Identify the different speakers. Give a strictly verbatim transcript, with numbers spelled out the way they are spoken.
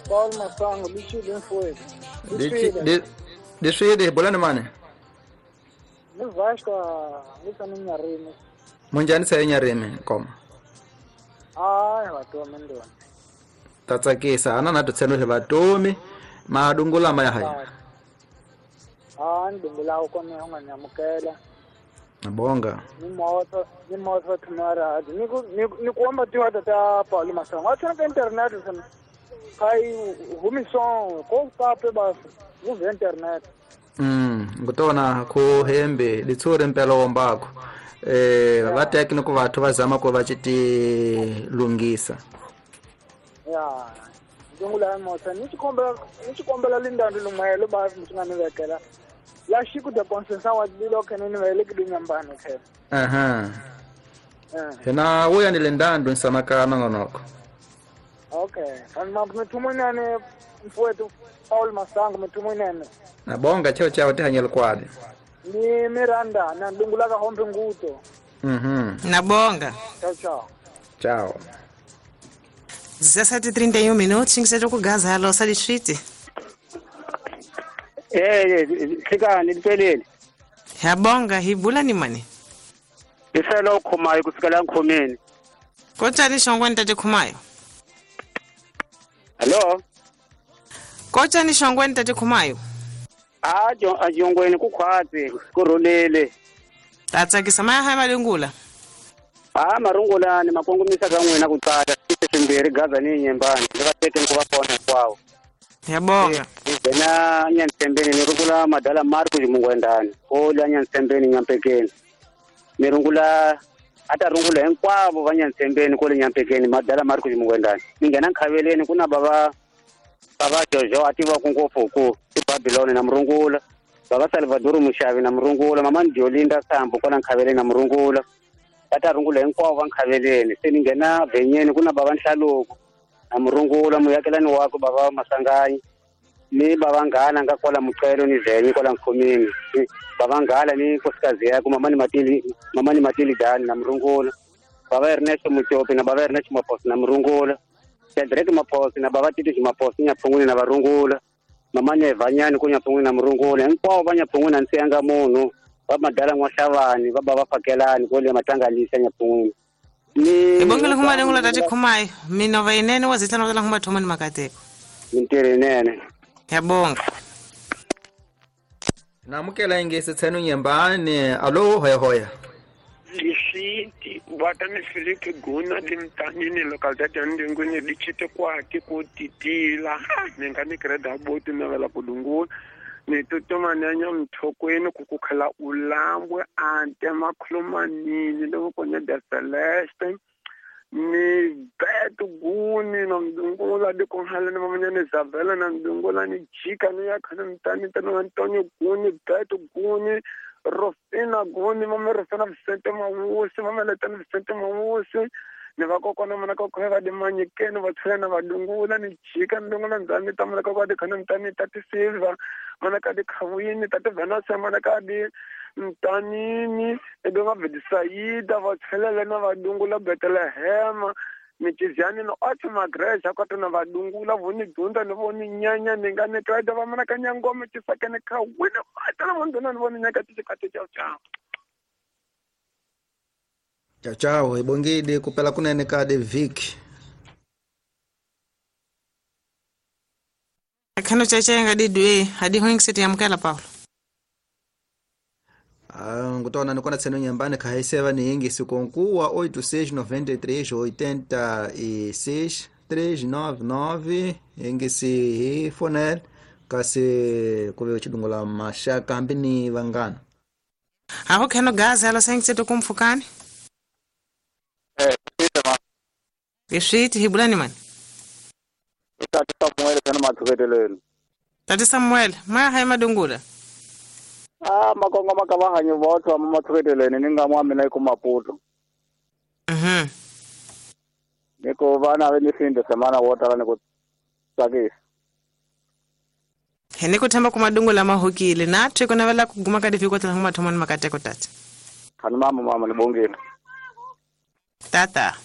Speaker 1: Paul Masango lichile mfowethu.
Speaker 2: Li liswile bolani mane.
Speaker 1: Ni Vasco ni Nyarimi.
Speaker 2: Munjani sa Nyarimi koma.
Speaker 1: Ai vatomi ndona.
Speaker 2: Tatsakisa ana na tutseno le vatomi madungula maya haya.
Speaker 1: Ah ndungula ukona unganyamukela.
Speaker 2: Nabonga.
Speaker 1: Ni moto ni moto tumara ni ku ni kuomba tu hata ta Paul Masango. Acha na internet sana. Kai humison ko pape basi uve internet.
Speaker 2: Mm ngutona ku hembe litsuri mpela wombako. Eh va tekniko vathu va zama ku va chiti lungisa.
Speaker 1: Ya ndungula moto ni chikombela ni chikombela lindando lumelo basi mutungani vekela. La shiku de consensa wa dilo kenene vele kidunyambano ke.
Speaker 2: Aha. Hena uya ni lindando nsamakana ngonoko.
Speaker 1: Okay, and mthumunane mfowethu Paul Masango mthumunane.
Speaker 2: Nabonga cheo chao tihanyela kwadi.
Speaker 1: Ni Miranda na ndungula ka hombe nguto.
Speaker 2: Mhm.
Speaker 3: Nabonga.
Speaker 1: Tchau tchau.
Speaker 2: Tchau.
Speaker 3: dezessete e trinta e um minutos, tinha que ser com gás, alô, salishiti.
Speaker 4: Eh, hlekani lipelele.
Speaker 3: Yabonga hibula ni mani.
Speaker 4: Iselo khomayo kusukela nkhomeni.
Speaker 3: Kotani shongwe ntate khomayo.
Speaker 4: Hello.
Speaker 3: Kotani shongwe ntate khomayo.
Speaker 4: Ah, jo ajongweni kukhwatsi kurulele.
Speaker 3: Tatsakisa maya ha malungula.
Speaker 4: Ah, marungula ni makongomisa ka n'wina ku tsala swimbirhi gaza ni nyembani ndzi va teke ni ku va kona hinkwawo.
Speaker 3: Yabonga.
Speaker 4: Ngena Nyantsembeni ni rungula madala Marco Jimungwendani ola Nyantsembeni Nyampekeni. Ni rungula ata rungula hinkwavo va Nyantsembeni kole Nyampekeni madala Marco Jimungwendani. Ni nghena Nkhaveleni ku na bava bava Jojo ativa ku ngopfu ku Babylon na murungula. Bava Salvador Mushavi na murungula, mama Ndiolinda Sambo kona Nkhaveleni na murungula. Ata rungula hinkwavo va Nkhaveleni. Se ni nghena Venyeni ku na bava Nhlaluko na murungula muyakelani wakwe bava Masanganyi. Ni bava Nghala nga kwala Muqelo ni Venye kwala Nkhomeni. Bava Nghala ni nkosikazi yakwe mama ni Matili mama ni Matili Dani na murungula. Bava Ernesto Mutopi na bava Ernesto Maposi na murungula. Shadrack Maposi na bava Tito Maposi Nyaphunguni na varungula. Mama ni Evanyani ku Nyaphunguni na murungula. Hinkwavo va Nyaphunguni a ndzi siyanga munhu. Va madala N'waxavani va bava Fakelani kwale Matangalisa Nyaphunguni. Ni
Speaker 3: Ibongile kuma lengula tati khumayo minova inene wa zitlana la kuma thoma ni makateko.
Speaker 4: Mintirho inene.
Speaker 3: Yabonga.
Speaker 2: Namukela ingesi tseno nyembane alo hoya hoya.
Speaker 5: Lisiti watani Filipe Guna limtanini localidade ya Ndengweni lichite kwati kutitila ningani kreda boti navela kudungula ni tutumanyanya mthokweni kukukhala ulambwe ante makhulumanini lokonya da Celeste ni betu guni na mdungula dikonhala ni mamanyane Isabela na mdungula ni jika ni yakhana mtani tano Antonio guni betu guni Rosina guni mama Rosina Vicente Mawusi mama Letana Vicente Mawusi ni vakokwana mana kokwana va dimanyikeni va tlhela na vadungula ni jika ndungula ndzani ta mana kokwana dikhana mtani tati Silva mana ka dikhawini tati Venus mana ka di mtanini edonga Bedisaida va tlhela na vadungula Bethlehem michiziani no ati magreja kwata na vadungula voni dunda ni voni nyanya ni nga ni kraida va mana ka nyangoma chisakene khawini matala vondona ni voni nyaka tichikati chao chao.
Speaker 2: Tchau tchau, ibongile kupela kunene kade Vic.
Speaker 3: Akhano chacha ngadi dwe hadi hoing seti yamkela Paulo.
Speaker 2: Ah, ngutona nikona tseno nyambane khaiseva ni ingisi konkuwa oito seis nove três oitenta e seis três nove nove ingisi hi fonel kasi kuve chidungula mashaka hambi ni vangana.
Speaker 3: Aho khano gaza alo sengitse kumfukani.
Speaker 4: Eh, ma.
Speaker 3: Isiti hibulani man.
Speaker 4: Tati Samuel kana mathuketelweni.
Speaker 3: Tati Samuel, maya hay madungula.
Speaker 4: Ah, makongo makavahanyi vothu ama mathuketelweni ni nga mwa mina ku Maputo.
Speaker 3: Mhm.
Speaker 4: Niko vana ve ni finde semana wotala ni ku tsakisa.
Speaker 3: Hene ku themba ku madungula mahokile na thwe kona vela ku guma ka difiko tla ngoma thomani makateko tati.
Speaker 4: Khani mama mama ni bongile.
Speaker 3: Tata.